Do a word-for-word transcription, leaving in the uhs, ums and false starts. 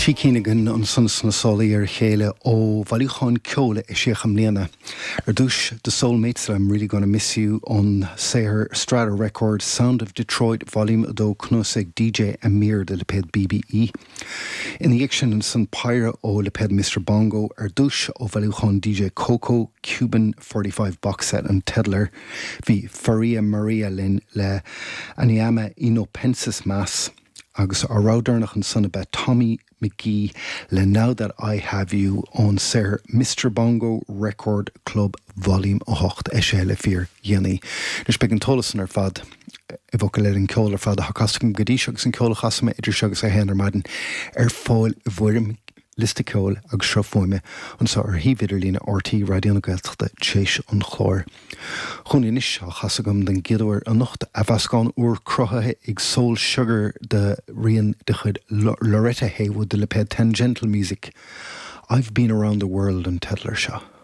Trí cinn againn ansan sna sála ar a chéile ó bhailiúchán ceoil a eisíodh i mbliana. Ar dtús The Soulmates le I'm Really Gonna Miss You ón saothar Strata Records Sound of Detroit Volume a dó cnuasaigh DJ Amir de lipéad BBE. Ina dhiaidh sin ansan péire ó lipéad Mr Bongo ar dtús ó bhailiúchán DJ Coco Cuban forty five box set an teideal air. Bhí Faria Maria linn le Aniama y no Penses Mas agus ár rogha deireanach ansan ab ea Tommy McGee le Now That I Have You ón saothar Mr Bongo Record Club Volume a hocht eisithe le fíor dhéanaí. Anois beidh an t-eolas san ar fad i bhfocail eile an ceol ar fad atá casta agam go dtí seo agus an ceol a chasfaidh mé idir seo agus a haon ar maidin ar fáil i bhfoirm liosta ceoil agus sruth fuaime anseo ar shuíomh idirlíne RTÉ Raidió na Gaeltachta tar éis an chláir. Chugainn anois á chasadh agam den gcéad uair anocht athmheascán úr cruthaithe ag Soul Sugar de rian de chuid Loretta Haywood de lipéad Tangential Music. I've been around the world an teideal air seo.